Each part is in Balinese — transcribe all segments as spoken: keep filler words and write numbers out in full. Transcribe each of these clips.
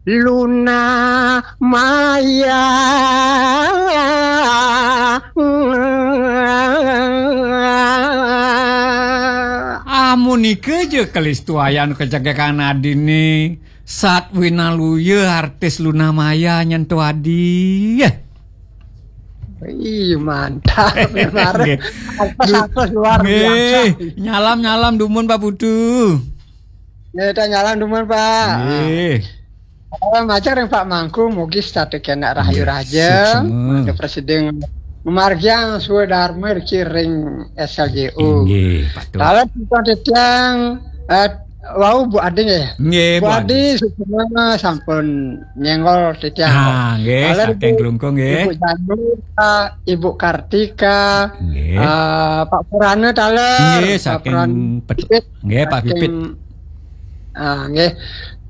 Luna Maya. Amun nika ja kalistuayan kacegekan adine. Sat Winaluya artis Luna Maya nyentuh adi. Ih, mantap. Nggih. Artis-artis luar biasa. Nggih. Nyalam-nyalam dumun, Pak Putu. Nggih, tak nyalam dumun, Pak. Nggih. Salam ajar yang Pak Mangku, mugi setata kena rahayu raja. Suksma. Mangke presiden memargiang swadarma ring S L J U. Inggih, patut. Dalam titiang, eh, wau Bu Adi nggih. Nggih, Bu Bu Adi. Adi suksma sampun nyenggol titiang. Ah, nggih, saking Klungkung nggih. Ibu Janu, eh, Ibu Kartika, nggih. Eh, Pak Purana taler, nggih, Pak saking Purana Pet-, Pipit, nggih, Pak saking Pipit. Ah, nggih.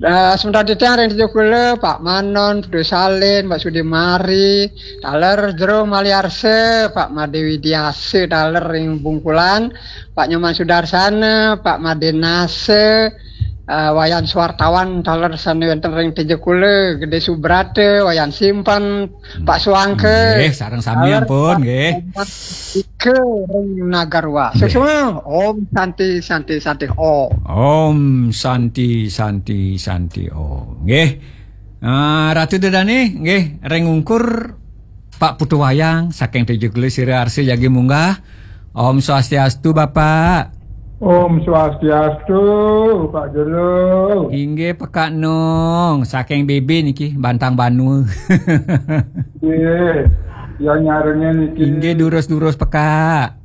Eh, sementara titiang ring Tejukula, Pak Manon, Putu Salin, Pak Sudimari, taler jero Maliarsa, Pak Made Widiasa, taler ring Bungkulan, Pak Nyoman Sudarsana, Pak Made Nasa, eh, Wayan Suwartawan, taler sane wenten ring Tejukula, Gede Subrata, Wayan Simpen, Pak Suangke. Nggih, sareng sami ampun, nggih. Ika ring Nagarwa. Nggih. Suksma, Om Santi, Santi, Santi, Om. Om Santi, Santi, Santi, Om. Nggih. Ah, Ratu Dedane, nggih, ring ungkur Pak Putu Wayang saking Tejukula sira arsa jagi munggah. Om Swastiastu, Bapak. Om Swastiastu, Pak Jero. Inggih, Pekak Nong, saking B B niki, Bantang Banua. Nggih, ya nyarengin niki. Inggih, durus-durus, Pekak.